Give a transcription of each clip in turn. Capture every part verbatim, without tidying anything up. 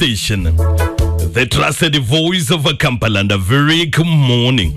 station, the trusted voice of Kampala, and a very good morning.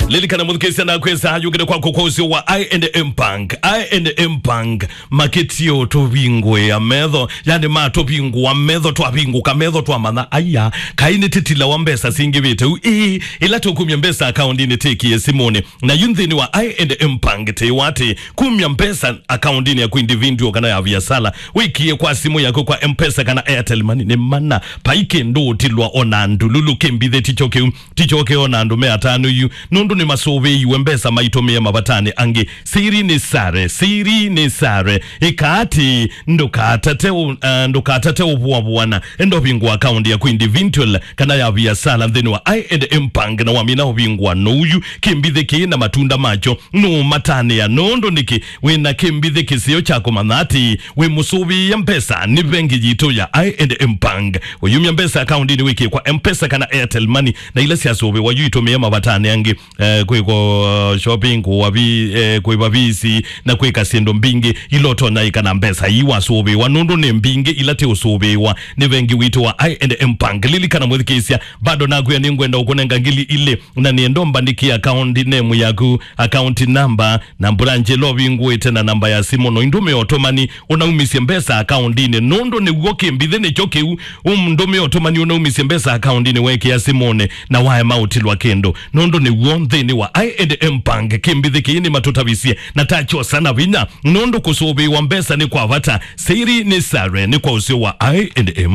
Lilikana mũthukĩĩsya na kwĩsa ayũkĩte kwako kwa ũsio wa I and M Bank. I and M Bank makĩtio tũvingũĩa metho, yani matũvingũa metho, twavingũka metho twamanya, aya, kaĩ nĩ tĩtila wa mbesa singĩvĩte u, ĩĩ, ĩla tũkumya mbesa akaundinĩ tĩkie simũnĩ. Na yu nthĩnĩ wa I and M Bank tĩwa atĩ kumya mbesa akaundinĩ yaku individual kana ya viasala, wĩkie kwa simũ yaku kwa M-Pesa kana Airtel Money nĩ mana. Vai kĩndũ ũtilwa ona ndululu kĩmbithĩ ticho kĩu. Tichoke ona andũ me atano yu, nũndũ nĩmasũvĩiwe mbesa maitũmĩe mavatanĩ angĩ. Siri nĩ sare, siri nĩ sare. Ĩka atĩ ndũkatate ũ-, ah, ndũkatate ũvũavũana. Enda ũvingũa akaunti yaku individual kana ya viasala nthĩnĩ wa I and M Bank, na wamina ũvingũa nũu yu kĩmbithĩ kĩĩ na matunda makyo. Nũũmatanĩa nũndũ nĩkĩ wĩna kĩmbithĩ kĩseo kya kũmanya atĩ wĩ mũsũvĩĩe mbesa nĩ vengi yitũ ya I and M Bank. Ũyumya mbesa akaundinĩ wĩkie kwa M-Pesa kana Airtel Money, na ila syasũvĩwa yu itũmĩe mavatanĩ angĩ, eh, kwĩko shopping, kũwa vi-, eh, kwĩva visi, na kwĩka syĩndũ mbingĩ ila ũtonya ĩka na mbesa ii wasũvĩwa, nũndũ nĩ mbingĩ ila ti ũsũvĩwa nĩ vengi witũ wa I and M Bank. Lilikana mwĩthukĩĩsya, bado nakwĩa nĩngwenda ũkũnenga ngili ilĩ, na nĩenda ũmbandĩkie account name yaku, account number, na branch ĩla ũvingũĩte na namba ya simũ, no ũndũmĩe ũtũmani ũnaumisye mbesa akaundinĩ, nũndũ nĩw'o kĩmbithĩ nĩkyo kĩu. Ũndũmĩe ũtũmani ũnaumisye mbesa akaundinĩ weekĩa simũnĩ na waema ũtilwa kĩndũ, nũndũ nĩw'o nthĩnĩ wa I and M Bank kĩmbithĩ kĩĩ nĩmatũtavisye na takyosa na vinya, nũndũ kũsũvĩĩwa mbesa nĩ kwa vata. Siri nĩ sare nĩ kwa ũseo wa I and M.